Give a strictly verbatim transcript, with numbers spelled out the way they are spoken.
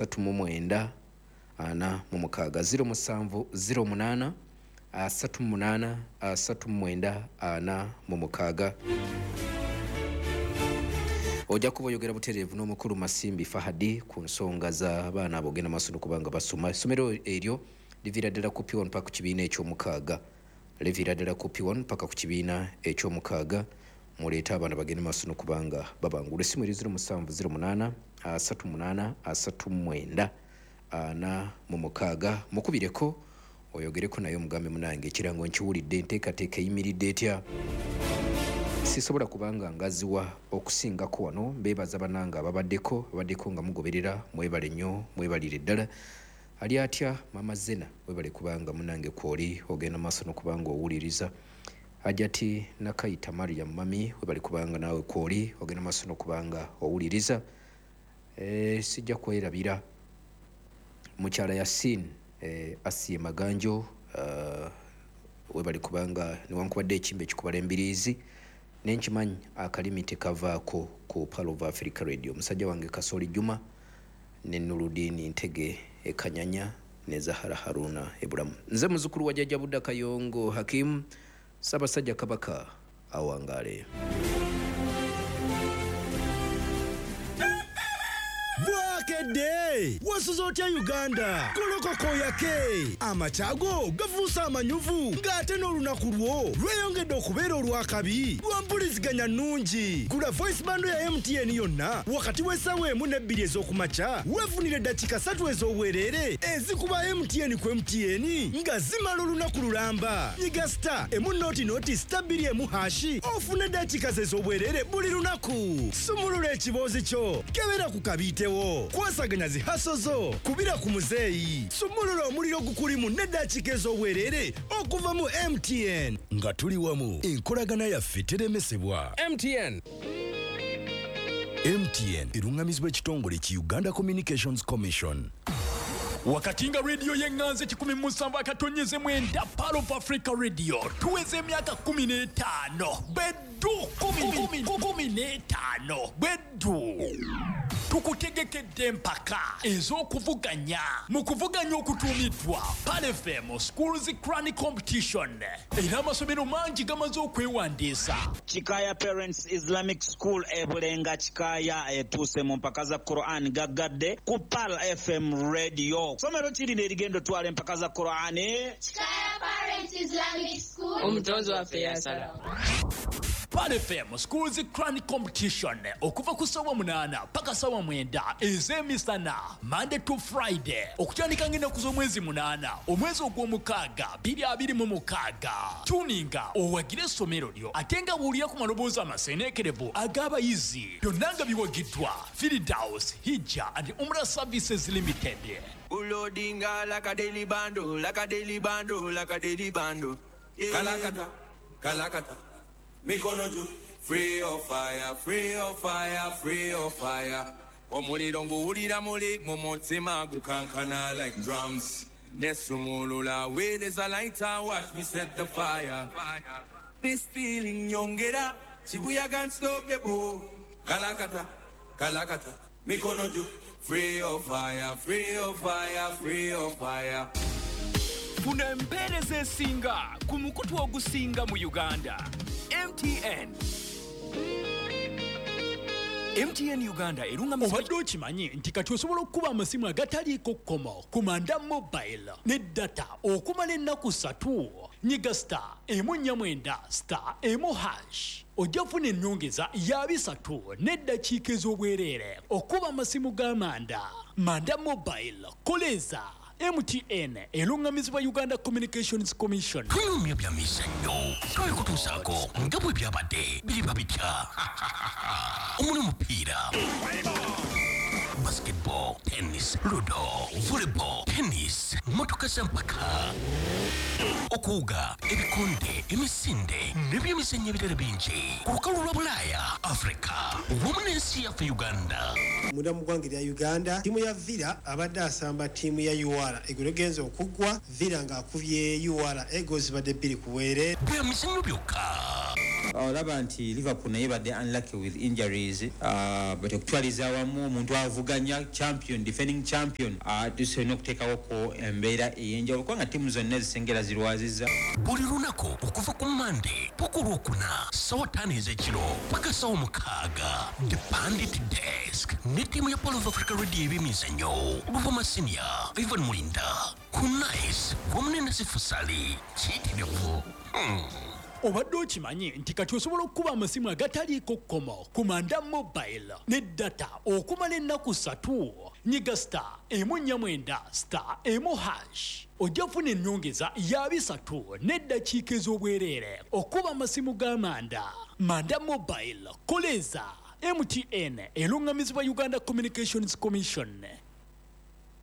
Asatu mu mwenda ana mu mukaaga, ziro musanvu ziro munaana asatu mu munaana asatu mu mwenda ana mu mukaaga. Ojja kuba oyogera butereevu n'omukulu Masimbi Fahadi ku nsonga z'abaana abo ogenda maaso n'okuba nga basoma. Essomero eryo liviira ddala ku P one paka ku kibiina ekyomukaaga, liviira ddala ku P one paka ku kibiina ekyomukaaga. Muleete abaana bagende maaso n'okuba nga babangula. Essimu eri ziro musanvu ziro munaana asatu munaana asatu mwenda ana mu mukaaga. Mukubireko oyogereko naye, omugambe, "Munange, ekirango nkiwulidde, enteekateeka eyimiridde etya?" Sisobola kubanga ngaziwa okusingako wano. Mbeebaza bannange ababaddeko abaddeko nga mugoberera. Mwebale nnyo, mwebalire ddala. Ali atya Mama Zena? Webale kubanga munange kwoli ogenda maaso n'okubanga owuliriza. Ajati Nakayita Mariam Mami, webale kubanga naawe kwoli ogenda maaso n'okubanga owuliriza. e, sijja kwerabira mukyala Yasin e, Asiye Maganjo, uh, webale kubanga newankubadde ekimba ekikubala embiriizi, nenkimanyi akalimi tekavaako ku Pearl of Africa Radio. Musajja wange Kasoli Juma ne Nuludini Ntege Ekanyanya ne Zahara Haruna Ebulamu. Nze muzukulu wa Jjajja Budda Kayongo Hakimu. Ssaabasajja Kabaka awangaale. Bwakedde, wasuze otya Uganda? Golokoko yake amakyago gafuuse amanyuvu, ng'ate n'olunaku lwo lweyongedde okubeera olwakabi lwa mpuliziganya nnungi. Gula voice bundle ya M T N yonna wakati w'essaawa emu n'ebbiri ez'okumakya, weefunire eddakiika ssatu ez'obwereere ezikuba M T N ku M T N nga zimala olunaku lulamba. Nyiga star emu noti noti star bbiri emu hash ofune eddakiika ze ez'obwereere buli lunaku. Sumulula ekiboozi kyo, kebera ku kabiitewo, kwasaganya zi hustle zo, kubira ku muzeeyi, sumulula omuliro gukulimu n'eddakiika ez'obwereere okuva mu M T N. Nga tuli wamu, enkolagana yaffe teremesebwa. M T N. M T N eruŋŋamizibwa ekitongole ki Uganda Communications Commission. Wakati nga rediyo y'eŋŋanzi kikumi mu musanvu akatonyeze mwenda, Pearl of Africa Radio, tuweza emyaka kumi n'etaano beddu, kumi n'etaano beddu. Tukutegekedde empaka ez'okuvuganya mu kuvuganya okutuumiddwa Pearl F M Schools Quran Competition, era amasomero mangi gamaze okwewandiisa. Kikaya Parents Islamic School e Bulenga Kikaya etuuse mu mpaka za Quran gaggadde ku Pearl F M Radio. Somero ki lino erigenda otwala empaka za Quran? Kikaya Parents Islamic School. Omutonzi waffe yasalawo. Pearl F M Schools Quran Competition, okuva ku ssaawa munaana paka ssaawa mwenda ez'emisana, Monday to Friday, okutandika ng'ennaku z'omwezi munaana omwezi ogw'omukaaga bbiri abiri mu mukaaga. Tuninga owagire essomero lyo, ate nga buulira ku maloboozi amaseeneekerevu ag'abayizi. Byonna nga biwagiddwa Firdaus Hijja and Umrah Services Limited. Ulodinga like a daily bando, like a daily bando, like a daily bando. Yeah. Kalakata, kalakata, mikono juu. Free of fire, free of fire, free of fire. Omuliro nguwulira muli mu mutima gukankana like drums. Nesumulula with is a lighter, watch me set the fire. This feeling nyongera, chibuyaga unstoppable. Kalakata, kalakata, mikono juu. Free of fire, free of fire, free of fire. Funa empeereza esinga ku mukutu ogusinga mu Uganda, M T N. M T N Uganda erungamizibwa. Obadde okimanyi nti kati osobola okukuba amasimu agataliiko kkomo ku Manda Mobile ne data okumala ennaku ssatu? Nyiga star emu nnya mwenda star emu hash, ojja kufuna ennyongeza ya bisatu n'eddakiika ez'obwereere okuba amasimu ga Manda. Manda Mobile, koleza. M T N eruŋŋamizibwa Uganda Communications Commission. Tunyumya bya mizannyo, twabikutuusaako nga bwe byabadde biriba bitya omuli omupiira, basketball, tennis, ludo, volleyball, tennis, motoka z'empaka, okuwuga, ebikonde, emisinde n'ebyemizannyo ebirala bingi ku lukalu lwa Bulaaya, Afrika wamu n'ensi yaffe Uganda. Munda mu ggwanga erya Uganda, ttiimu ya Villa abadde asamba ttiimu ya U R. Eggulo genza okuggwa, Villa ng'akubye U R egozi badde bbiri ku bwereere. Bya mizannyo byokka. Olaba nti Liverpool naye badde unlucky with injuries, uh, but okutwaliza awamu omuntu avuganya champion, defending champion, uh, tusolina okuteekawoko embeera ey'enjawulo kubanga ttiimu zonna ezisengera zirwaziza. Buli lunaku okuva ku Mande paka Olwokuna, sawa ttaano ez'ekiro paka sawa mukaaga, The Pundit Desk ne ttiimu ya Pearl of Africa Radio ebyemizannyo, Buvuma Senior, Ivan Mulinda ku Nice wamu ne Nasifu Sali kiyitirivu. Hmm. Obadde okimanyi nti kati osobola okukuba amasimu agataliiko kkomo ku Manda Mobile ne data okumala ennaku ssatu? Nyiga star emu nnya mwenda star emu hash, ojja kufuna ennyongeza ya bisatu n'eddakiika ez'obwereere okuba amasimu ga Manda. Manda Mobile, koleeza. M T N eruŋŋamizibwa Uganda Communications Commission.